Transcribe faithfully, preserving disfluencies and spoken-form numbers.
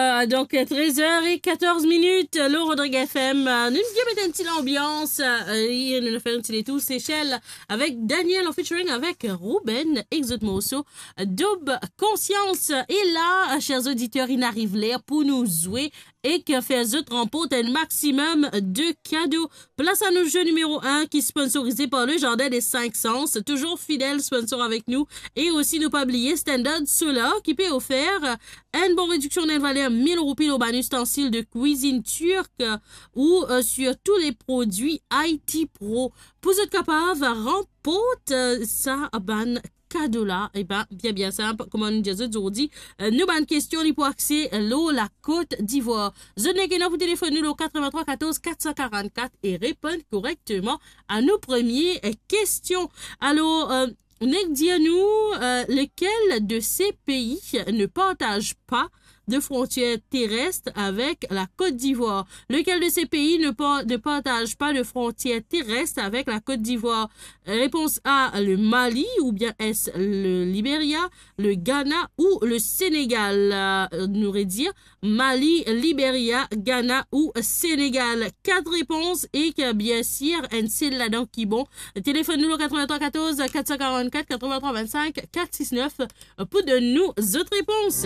Euh, donk, trez er e katorz minit, lor Rodrigue F M, euh, nou vinn met enn ti lanbians, euh, e nou fer enn ti letour Seychelles avek Daniel an featuring avek Ruben ek zot morso Doub Konsyans. E la, euh, cher oditer, inn ariv ler pou nou zwe ek fer zot ranport enn maximum de kado. Plas a nou zwe nimero enn ki sponsorize par le Jardin des Cinq Sens, touzour fidel sponsor avek nou. E osi, nou pa bliye Standard Solar ki pe ofer enn bon rediksion enn valer mil roupi lor bann ustensil de kwizinn tirk, euh, ou, euh, sur tous les produits I T Pro. Pou zot kapav ranport, euh, sa bann kado la, e ben, bien, bien sinp, kouma nou dir zot zordi, euh, nou bann kestion li pou axe lor la Côte d'Ivoire. Zot nek ena pou telefonn nou lor katrevintrwa katorz katsan karannkat e reponn korekteman a nou premie, euh, kestion. Alor, euh, nek dir nou, euh, lequel de ces pays ne partage pas de frontière terrestre avec la Côte d'Ivoire ? Lequel de ces pays ne par-, ne partage pas de frontière terrestre avec la Côte d'Ivoire ? Réponse A, le Mali, ou bien est-ce le Libéria, le Ghana ou le Sénégal ? Euh, nou redir, Mali, Liberia, Ghana ou Senegal. Kat repons ek, bien sir, enn sel ladan ki bon. Telefonn nou lor katrevintrwa katorz katsan karannkat, katrevintrwa vennsenk, kat sis nef pou donn nou zot repons.